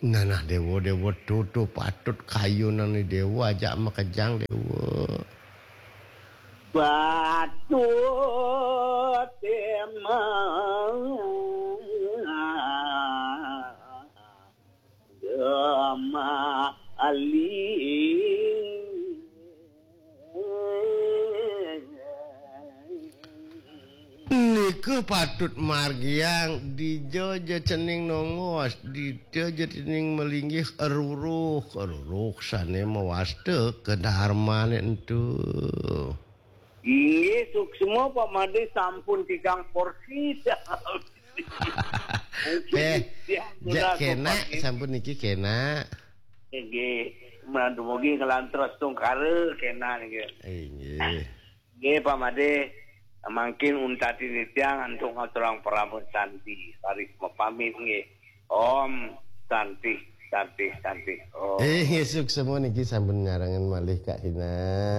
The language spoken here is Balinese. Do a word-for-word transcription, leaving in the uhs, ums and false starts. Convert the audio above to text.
Nah, nah, Déwa, Déwa, tutu patut kayunan ni Déwa, ajak makejang, Déwa. Patut emang Gemali. Nika patut margiang, dija ja cening nongos, dija ja cening malinggih, eruruh, eruruh sané mawasta kadarmané ento. Inggih, suksma Pak Madé, sampun tigang porsi. Péh, ja kénak, sampun niki kénak. Inggih, dumugi nglantur astungkara kénak niki. Inggih. Nggih, Pak Madé, mangkin untat titiang antuk ngaturang parama santi. Raris mapamit nggih. Om Santi, Santi, Santi. Om. Eh, suksma niki sampun nyarengan malih Kak Hina.